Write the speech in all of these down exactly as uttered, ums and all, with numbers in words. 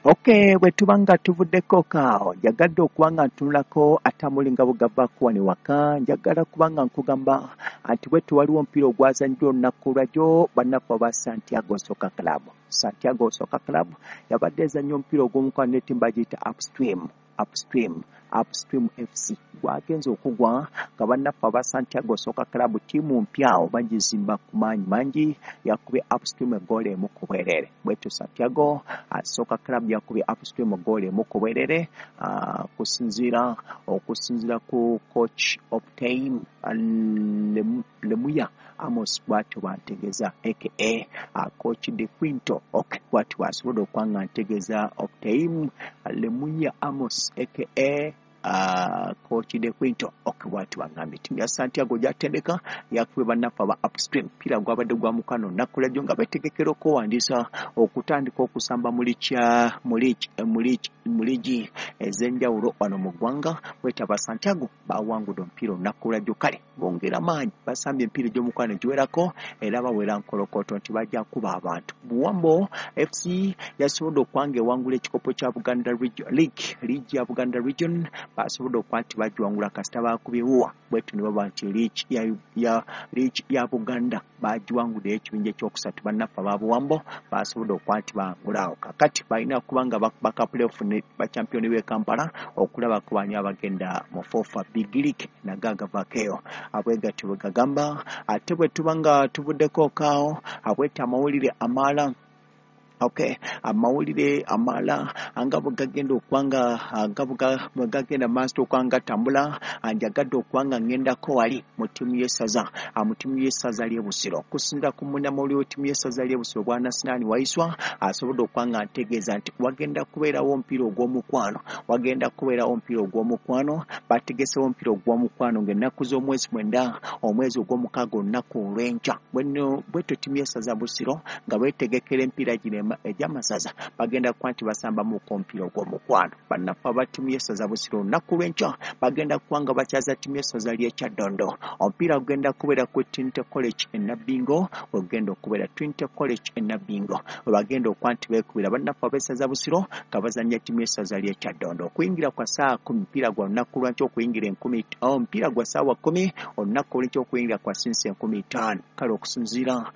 Okay, bwe tuba nga tuvuddeko kaawo, njagadde okuba nga ntunulako atamuli nga bugavaako wano waka. Njagala kuba nga nkugamba nti bwetu waliwo omupiira ogwazanyiddwa olunaku lwajjo bannaffe aba Santiago Soccer Club. Santiago Soccer Club yabadde ezannya omupiira ogw'omukwano n'ettiimu bagiyita Upstream, Upstream, Upstream F C. Gwagenze okugwa nga bannaffe aba Santiago Soccer Club ttiimu mpya bagizimba ku maanyi mangi, yakubye Upstream eggoolo emu ku bwereere. Bwetyo Santiago Soccer Club yakubye Upstream eggoolo emu ku bwereere, okusinziira okusinziira ku coach Optime Lemuya Amos bw'atyo bw'antegeeza, aka coach De Quinto. Okay, bw'atyo bw'asobodde okuba nga ntegeeza Optime Lemuya Amos aka Uh, coach De Quinto. Okay, bw'atyo bw'angambye ttiimu ya Santiago gy'atendeka yakubye bannaffe aba Upstream. Omupiira gwabadde gwa mukwano olunaku lwajjo nga beetegekera okwewandiisa okutandika okusamba mu liigi ez'enjawulo wano mu ggwanga. Bwetyo aba Santiago bawangudde omupiira olunaku lwajjo, kale bongera maanyi, basambye emipiira egy'omukwano egiwerako era bawera nkolokoto nti bajja kuba abantu. Buwambo F C yasobodde okuba nga ewangula ekikopo kya Buganda League, liigi ya Buganda Region, basobodde okuba nti bagiwangula kasita baakubye wuwa. Bwetyo ne baba nti liigi ya, ya, liigi ya Buganda bagiwanguddeyo ekibinja ekyokusatu. Bannaffe aba Buwambo basobodde okuba nti bawangulaawo. Kaakati balina kuba nga baka playoff ne bachampiyoni b'e Kampala okulaba ku baani abagenda mu FOFA Big League nagagavaako eyo abwegatyo bwe gagamba. Ate bwe tuba nga tuvuddeko kaawo, abweta amawulire amala. Okay, amawulire amala nga bwe gagenda okuba nga nga bwe gagenda maaso okuba nga gatambula, njagadde okuba nga ŋŋendako wali mu ttiimu y'essaza, mu ttiimu y'essaza ly'e Busiro. Okusinziira ku munnamawulire w'ettiimu y'essaza ly'e Busiro Bwana Sinani Waiswa, asobodde okuba nga ntegeeza nti wagenda kubeerawo omupiira ogw'omukwano, wagenda kubeerawo omupiira ogw'omukwano, bategesewo omupiira ogw'omukwano ng'ennaku z'omwezi mwenda omwezi ogw'omukaaga olunaku olw'enkya. Bweno bwetyo ttiimu y'essaza Busiro nga beetegekera emipiira gino egy'amasaza bagenda kuba nti basambamuko omupiira ogw'omukwano. Bannaffe aba ttiimu y'essaza Busiro olunaku lw'enkya bagenda kuba nga bakyaza ttiimu y'essaza ly'e Kyaddondo. Omupiira gugenda kubeera ku Trinity College e Nabbingo, wegugenda okubeera Trinity College e Nabbingo, we bagenda okuba nti beekubira bannaffe ab'essaza Busiro nga bazannya ttiimu y'essaza ly'e Kyaddondo. Okuyingira kwa ssaawa kkumi, omupiira gwa lunaku lwankya okuyingira enkumi, omupiira gwa ssaawa kkumi olunaku olw'enkya okuyingira kwa sinsi enkumi ttaano. Kale okusinziira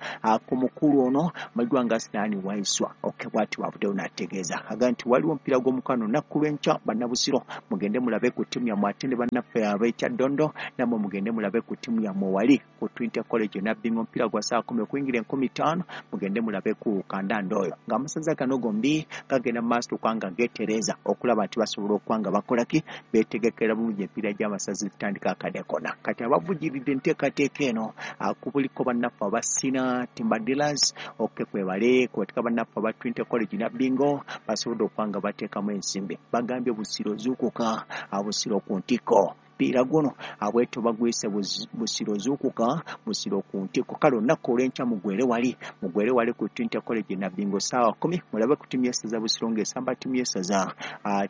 ku mukulu ono Majwa nga Sinani Waiswa, okay, bw'atyo bw'avuddeyo n'ategeeza aga nti waliwo omupiira gw'omukwano olunaku lw'enkya. Bannabusiro mugende mulabe ku ttiimu yammwe, ate ne bannaffe ab'e Kyaddondo nammwe mugende mulabe ku ttiimu yammwe wali ku Trinity College e Nabbingo. Omupiira gwa ssaawa kkumi okuyingira enkumi ttaano, mugende mulabe ku kandanda oyo. Ng'amasaza gano gombi gagenda mu maaso okuba nga geetereeza okulaba nti basobola okuba nga bakola ki, beetegekera bulungi emipiira gy'amasaza egitandika akadde konna. Kati abavugiridde enteekateeka eno kubuliko bannaffe aba Sina Timber Dealers, okay, kwebale kubatika bannaffe aba Trinity College Nabbingo basobodde okuba nga bateekamu ensimbi. Bagambye Busiro zuukuka, Busiro ku ntikko. Omupiira guno abwetyo bagwise Busiro zuukuka, Busiro ku ntikko. Kale olunaku olw'enkya mugwere wali, mugwere wali ku Trinity College Nabbingo ssaawa kkumi, mulabe ku ttiimu y'essaza Busiro ng'esamba ttiimu y'essaza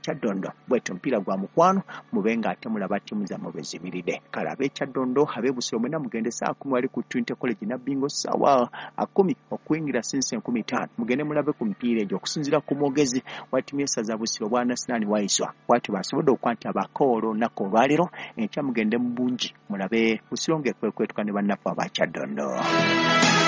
Kyaddondo. Bwetyo omupiira gwa mukwano, mube nga ate mulaba ttiimu zammwe bwe zimiridde. Kale ab'e Kyaddondo, ab'e Busiro mwenna mugende ssaawa kkumi wali ku Trinity College Nabbingo ssaawa kkumi okuyingira sinsi enkumi ttaano, mugende mulabe ku mipiira egyo. Okusinziira ku mwogezi wa ttiimu y'essaza Busiro Bwana Sinani Waiswa, bw'atyo basobodde okuba nti abakoola olunaku olwaleero enkya mugende mu bungi mulabe Busiro ng'ekwekwetuka ne bannaffe aba Kyaddondo.